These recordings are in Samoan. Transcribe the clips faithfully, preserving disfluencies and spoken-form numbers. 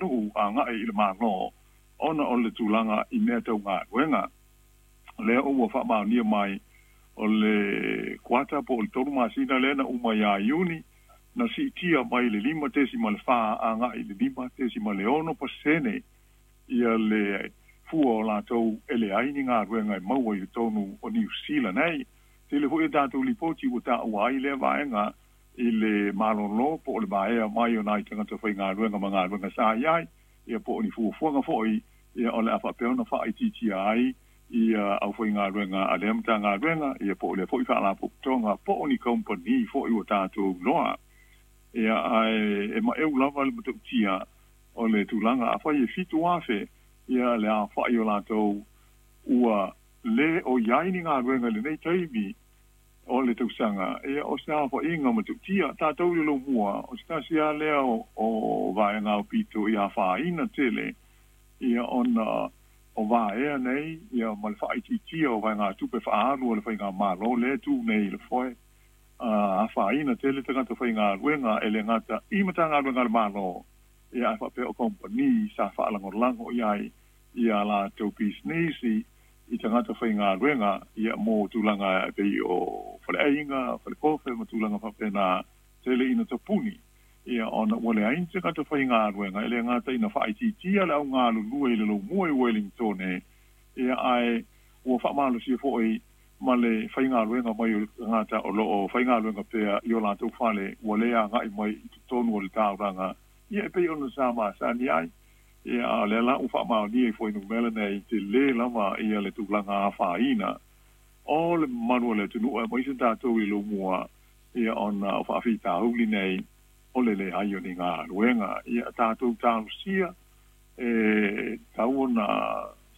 atunuu aga'i i le Mālō ona o le tulaga i mea tau galuega. Lea ua faamaonia mai o le kuata po o le tolu masina lea na uma iā Iuni na siitia mai le lima tesima le fā aga'i i le lima tesima le ono pasene ia le fua o latou e leai ni galuega e maua i totonu o Niu Sila nei. Tele fo'i a tatou lipoti ua taua ai lea vaega i le malōlō po o le maea mai o nai tagata faigaluega ma galuega sa i ai ia po o ni fuafuaga fo'i ia o le a faapea ona faaitiitia ai ia aufaigaluega a lea Matagaluega ia po o lea fo'i faalapotopotoga po o ni kamupani fo'i ua tatou iloa. Ia ae e maeu lava le matautia o le tulaga afai e fitu afe ia le aofa'i o latou ua lē o i ai ni galuega i lenei taimi o le tausaga ia o se aofa'iga matautia tatou i le lomua o se tasi lava lea o, o vaega aupito i afaina tele ia ona o vaea nei ia ma le faaitiitia o vaegatupe faaalu o le faigamālō lea tu nei i le foe afaina tele tagata faigaluega e le gata i Matagaluega a le Mālō ia ae faapea o kamupani sa faalagolago i ai ia latou pisinisi i tagata faigaluega ia mo tulaga e pei o faleaiga falekofe ma tulaga faapena tele ina tapuni ia ona ua leai ni tagata faigaluega e le gata ina faaitiitia le augalulue i le lomua i Wellington ia ae ua faamalosia fo'i ma le faigaluega mai o le tagata o loo faigaluega pea i o latou fale ua lē aga'i mai i totonu o le taulaga ia e pei ona sa masani ai. Ia a o lea la ua faamaonia i fuainumera nei telē lava ia le tulaga afaina o le mamalu o le atunuu aemaise tatou i lomua ia ona o faafitauli nei o le leai o ni galuega. Ia tatou talosia e tau ona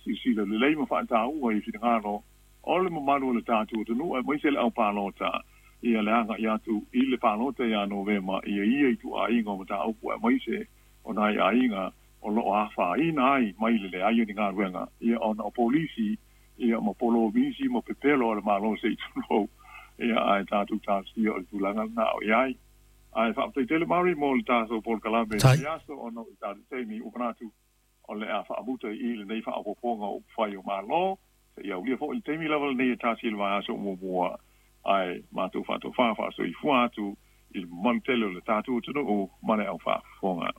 silasila lelei ma faataua i finagalo o le mamalu o le tatou atunuu aemaise le aupalota ia le aga'i atu i le palota iā Novema ia ia ituaiga o mataupu aemaise o nai aiga o loo afaina ai mai le leai o ni galuega ia ona o polisi ia ma polomisi ma pepelo a le Mālō se i tulou ia ae tatou talosia o le tulaga lena o i ai. Ae faafetai tele Mari mo le tatou polokalame i aso ona o i tatou taimi ua manatu o le a faamuta i lenei faaopoopoga o upufai o Mālō seia aulia fo'i le taimi lava lenei e tasi i le vaiaso muamua ae matou faatofā faasoifua atu i le mamalu tele o le tatou atunuu ma le au faafofoga.